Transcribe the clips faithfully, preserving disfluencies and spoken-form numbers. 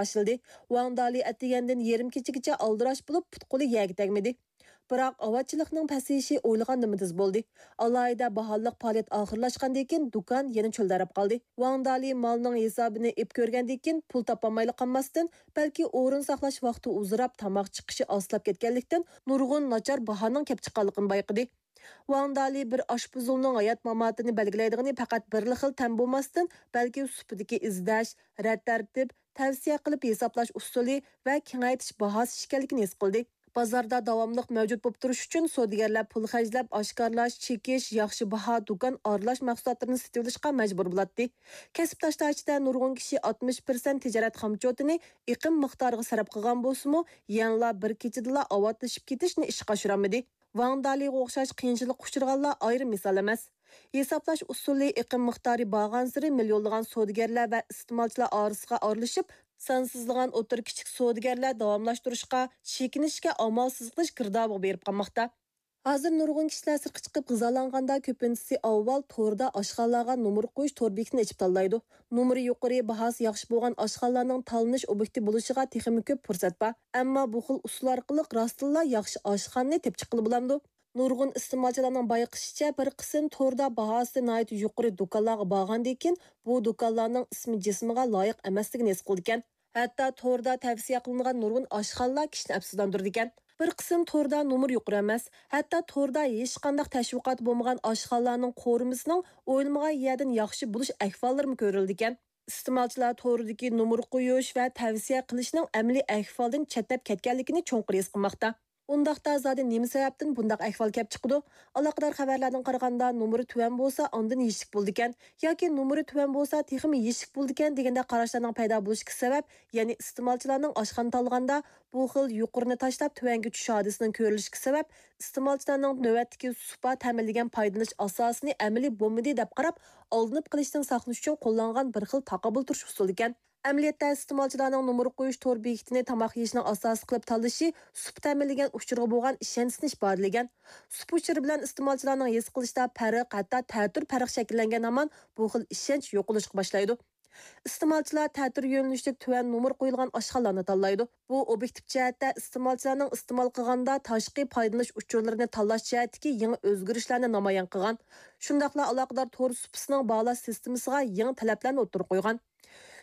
باشلىدى. ۋاڭ دالى ئەتىگەندىن يېرىم كېچىگىچە ئالدىراش بولۇپ، پۇت-قولى يەرگە تەگمىدى. بىراق ئاۋاتچىلىقنىڭ پەسىيىشى ئويلىغاندىنمۇ تېز بولدى. ئالاھىدە باھالىق پائالىيەت ئاخىرلاشقاندىن كېيىن، دۇكان يەنە چۆلدەرەپ قالدى. ۋاڭ دالى مالنىڭ ھېسابىنى ئېلىپ كۆرگەندىن كېيىن، پۇل تاپالمايلا قالماستىن، بەلكى ئورۇن ساقلاش ۋاقتى ئۇزىراپ، تاماق چىقىشى ئاستىلاپ كەتكەنلىكتىن، نۇرغۇن ناچار باھانىڭ كەپ چىققانلىقىنى بايقىدى. ۋاڭ دالى بىر ئاشپۇزۇلنىڭ ھايات-ماماتىنى بەلگىلەيدىغىنى پەقەت بىرلا خىل تەم بولماستىن، بەلكى سۇپىدىكى ئىزدەش، رەت-تەرتىپ، تەۋسىيە قىلىپ ھېسابلاش ئۇسۇلى ۋە كېڭەيتىش باھاسى ئىكەنلىكىنى ھېس قىلدى. بازاردا داۋاملىق مەۋجۇت بولۇپ تۇرۇش ئۈچۈن، سودىگەرلەر پۇل خەجلەپ، ئاشكارىلاش، چېكىش، ياخشى باھا، دۇكان ئارىلاش مەھسۇلاتلىرىنى سېتىۋېلىشقا مەجبۇر بولاتتى. كەسىپداشلار ئىچىدە نۇرغۇن كىشى ئاتمىش پىرسەنت تىجارەت خامچوتىنى ئېقىم مىقدارىغا سەرپ قىلغان بولسىمۇ، يەنىلا بىر كېچىدىلا ئاۋاتلىشىپ كېتىشنى ئىشقا ئاشۇرالمىدى. ۋاڭ دالىغا ئوخشاش قىيىنچىلىققا ئۇچرىغانلار ئايرىم مىسال ئەمەس. ھېسابلاش ئۇسۇلى ئېقىم مىقدارى بارغانسېرى مىليونلىغان سودىگەرلەر ۋە ئىستېمالچىلار ئارىسىغا ئارىلىشىپ، سانسىزلىغان ئوتتۇرا، كىچىك سودىگەرلەر داۋاملاشتۇرۇشقا، چېكىنىشكە ئامالسىز قېلىش گىردابىغا بېرىپ قالماقتا. ھازىر نۇرغۇن كىشىلەر سىرتقا چىقىپ غىزالانغاندا، كۆپىنچىسى ئاۋۋال توردا ئاشخانىلارغا نومۇر قويۇش تور بېكىتىنى ئېچىپ تاللايدۇ. نومۇرى يۇقىرى، باھاسى ياخشى بولغان ئاشخانىلارنىڭ تاللىنىش ئوبيېكتى بولۇشىغا تېخىمۇ كۆپ پۇرسەت بار. ئەمما بۇ خىل ئۇسۇل ئارقىلىق راستتىنلا ياخشى ئاشخانىنى تېپىپ چىققىلى بولامدۇ؟ نۇرغۇن ئىستېمالچىلارنىڭ بايقىشىچە، بىر قىسىم توردا باھاسى ناھايىتى يۇقىرى دۇكانلارغا بارغاندىن كېيىن، بۇ دۇكانلارنىڭ ئىسمى جىسمىغا لايىق ئەمەسلىكىنى ھېس قىلىدىكەن. ھەتتا توردا تەۋسىيە قىلىنغان نۇرغۇن ئاشخانىلار كىشىنى ئەپسۇسلاندۇرىدىكەن. بىر قىسىم توردا نومۇر يۇقىرى ئەمەس، ھەتتا توردا ھېچقانداق تەشۋىقاتى بولمىغان ئاشخانىلارنىڭ قورۇمىسىنىڭ ئويلىمىغان يەردىن ياخشى بولۇش ئەھۋاللىرىمۇ كۆرۈلىدىكەن. ئىستېمالچىلار توردىكى نومۇر قويۇش ۋە تەۋسىيە قىلىشنىڭ ئەمەلىي ئەھۋالدىن چەتنەپ كەتكەنلىكىنى چوڭقۇر ھېس قىلماقتا. ئۇنداقتا زادى نېمە سەۋەبتىن بۇنداق ئەھۋال كەپ چىقىدۇ؟ ئالاقىدار خەۋەرلەردىن قارىغاندا، نومۇرى تۆۋەن بولسا، ئاندىن يېشىك بولىدىكەن ياكى نومۇرى تۆۋەن بولسا، تېخىمۇ يېشىك بولىدىكەن دېگەندەك قاراشلارنىڭ پەيدا بولۇشىدىكى سەۋەب، يەنى ئىستېمالچىلارنىڭ ئاشخانا تاللىغاندا بۇ خىل يۇقىرىنى تاشلاپ تۆۋەنگە چۈشۈش ھادىسىسىنىڭ كۆرۈلۈشىدىكى سەۋەب، ئىستېمالچىلارنىڭ نۆۋەتتىكى سۇپا تەمىنلىگەن پايدىلىنىش ئاساسىنى ئەمەلىي بولمىدى دەپ قاراپ، ئالدىنىپ قېلىشتىن ساقلىنىش ئۈچۈن قوللانغان بىر خىل تاقابىل تۇرۇش ئۇسۇلى ئىكەن. ئەمەلىيەتتە، ئىستېمالچىلارنىڭ نومۇر قويۇش تور بېكىتىنى تاماق يېيىشنىڭ ئاساسى قىلىپ تاللىشى سۇپا تەمىنلىگەن ئۇچۇرغا بولغان ئىشەنچىسىنى ئىپادىلىگەن. سۇپا ئۇچۇرى بىلەن ئىستېمالچىلارنىڭ ھېس قىلىشىدا پەرق، ھەتتا تەتۈر پەرق شەكىللەنگەن ھامان، بۇ خىل ئىشەنچ يوقىلىشقا باشلايدۇ. ئىستېمالچىلار تەتۈر يۆنىلىشلىك تۆۋەن نومۇر قويۇلغان ئاشخانىلارنى تاللايدۇ. بۇ ئوبيېكتىپ جەھەتتە ئىستېمالچىلارنىڭ ئىستېمال قىلغاندا تاشقى پايدىلىنىش ئۇچۇرلىرىنى تاللاش جەھەتتىكى يېڭى ئۆزگىرىشلەرنى نامايان قىلغان. شۇنداقلا ئالاقىدار تور سۇپىسىنىڭ باھالاش سىستېمىسىغا يېڭى تەلەپلەرنى ئوتتۇرىغا قويغان.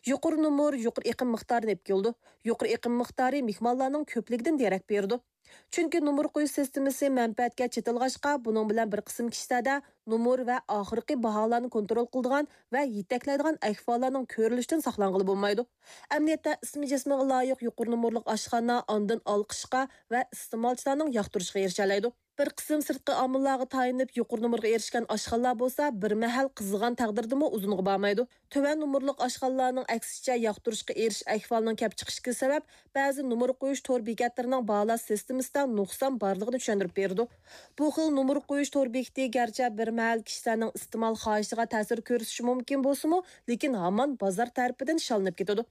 يۇقىرى نومۇر يۇقىرى ئېقىم مىقدارىنى ئېلىپ كېلىدۇ. يۇقىرى ئېقىم مىقدارى مېھمانلارنىڭ كۆپلۈكىدىن دېرەك بېرىدۇ. چۈنكى نومۇر قويۇش سىستېمىسى مەنپەئەتكە چېتىلغاچقا، بۇنىڭ بىلەن بىر قىسىم كىشىلەردە نومۇر ۋە ئاخىرقى باھالارنى كونترول قىلىدىغان ۋە يېتەكلەيدىغان ئەھۋاللارنىڭ كۆرۈلۈشىدىن ساقلانغىلى بولمايدۇ. ئەمەلىيەتتە، ئىسمى جىسمىغا لايىق يۇقىرى نومۇرلۇق ئاشخانا ئاندىن ئالقىشقا ۋە ئىستېمالچىلارنىڭ ياقتۇرۇشىغا ئېرىشەلەيدۇ. بىر قىسىم سىرتقى ئامىللارغا تايىنىپ يۇقىرى نومۇرغا ئېرىشكەن ئاشخانىلار بولسا، بىر مەھەل قىزىغان تەقدىردىمۇ ئۇزۇنغا بارمايدۇ. تۆۋەن نومۇرلۇق ئاشخانىلارنىڭ ئەكسىچە ياقتۇرۇشقا ئېرىشىش ئەھۋالىنىڭ كەپ چىقىشىدىكى سەۋەب، بەزى نومۇر قويۇش تور بېكەتلىرىنىڭ باھالاش سىستېمىسىدا نۇقسان بارلىقىنى چۈشەندۈرۈپ بېرىدۇ. بۇ خىل نومۇر قويۇش تور بېكىتى گەرچە بىر مەھەل كىشىلەرنىڭ ئىستېمال خاھىشىغا تەسىر كۆرسىتىشى مۇمكىن بولسىمۇ، لېكىن ھامان بازار تەرىپىدىن شاللىنىپ كېتىدۇ.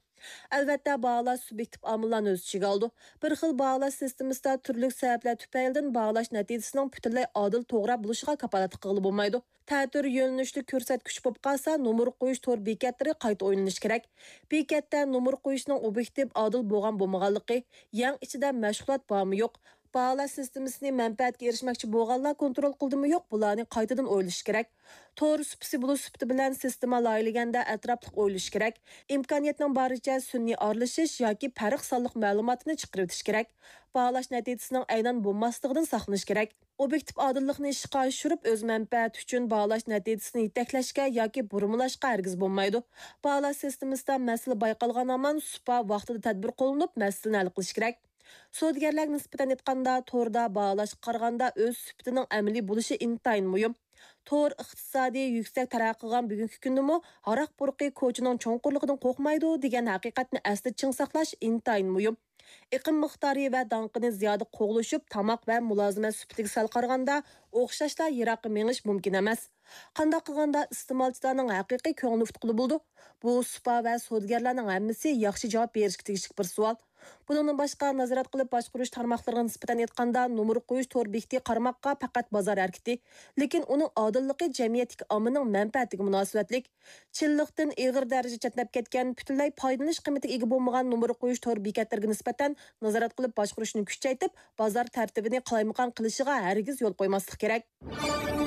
ئەلۋەتتە، باھالاش سۇبيېكتىپ ئامىللارنى ئۆز ئىچىگە ئالىدۇ. بىر خىل باھالاش سىستېمىسىدا تۈرلۈك سەۋەبلەر تۈپەيلىدىن باھالاش نەتىجىسىنىڭ پۈتۈنلەي ئادىل، توغرا بولۇشىغا كاپالەتلىك قىلغىلى بولمايدۇ. تەتۈر يۆنىلىشلىك كۆرسەتكۈچ بولۇپ قالسا، نومۇر قويۇش تور بېكەتلىرى قايتا ئويلىنىشى كېرەك. بېكەتتە نومۇر قويۇشنىڭ ئوبيېكتىپ ئادىل بولغان بولمىغانلىقى، يەڭ ئىچىدە مەشغۇلات بارمۇ يوق، باھالاش سىستېمىسىنى مەنپەئەتكە ئېرىشمەكچى بولغانلار كونترول قىلدىمۇ يوق، بۇلارنى قايتىدىن ئويلىشى كېرەك. تور سۇپىسى بولۇش سۈپىتى بىلەن سىستېما لايىھىلىگەندە ئەتراپلىق ئويلىشى كېرەك. ئىمكانىيەتنىڭ بارىچە سۈنئىي ئارىلىشىش ياكى پەرق سانلىق مەلۇماتنى چىقىرىۋېتىش كېرەك. باھالاش نەتىجىسىنىڭ ئەينەن بولماسلىقىدىن ساقلىنىش كېرەك. ئوبيېكتىپ ئادىللىقنى ئىشقا ئاشۇرۇپ، ئۆز مەنپەئەتى ئۈچۈن باھالاش نەتىجىسىنى يېتەكلەشكە ياكى بۇرمىلاشقا ھەرگىز بولمايدۇ. باھالاش سىستېمىسىدا مەسىلە بايقالغان ھامان سۇپا ۋاقتىدا تەدبىر قوللىنىپ، مەسىلىنى ھەل قىلىش كېرەك. سودىگەرلەرگە نىسبەتەن ئېيتقاندا، توردا باھالاشقا قارىغاندا ئۆز سۈپىتىنىڭ ئەمەلىي بولۇشى ئىنتايىن مۇھىم. تور ئىقتىسادى يۈكسەك تەرەققىي قىلغان بۈگۈنكى كۈندىمۇ «ھاراق پۇرىقى كوچىنىڭ چوڭقۇرلۇقىدىن قورقمايدۇ» دېگەن ھەقىقەتنى ئەستە چىڭ ساقلاش ئىنتايىن مۇھىم. ئېقىم مىقدارى ۋە داڭقىنى زىيادە قوغلىشىپ، تاماق ۋە مۇلازىمەت سۈپىتىگە سەل قارىغاندا ئوخشاشلا يىراققا مېڭىش مۇمكىن ئەمەس. قانداق قىلغاندا ئىستېمالچىلارنىڭ ھەقىقىي كۆڭلىنى ئۇتقىلى بولىدۇ؟ بۇ سۇپا ۋە سودىگەرلەرنىڭ ھەممىسى ياخشى جاۋاب بېرىشكە تېگىشلىك بىر سوئال. بۇنىڭدىن باشقا، نازارەت قىلىپ باشقۇرۇش تارماقلىرىغا نىسبەتەن ئېيتقاندا، نومۇر قويۇش تور بېكىتى قارىماققا پەقەت بازار ھەرىكىتى، لېكىن ئۇنىڭ ئادىللىقى جەمئىيەتتىكى ئاممىنىڭ مەنپەئەتىگە مۇناسىۋەتلىك. چىنلىقتىن ئېغىر دەرىجىدە چەتنەپ كەتكەن، پۈتۈنلەي پايدىلىنىش قىممىتىگە ئىگە بولمىغان نومۇر قويۇش تور بېكەتلىرىگە نىسبەتەن نازارەت قىلىپ باشقۇرۇشنى كۈچەيتىپ، بازار تەرتىپىنى قالايمىقان قىلىشىغا ھەرگىز يول قويماسلىق كېرەك.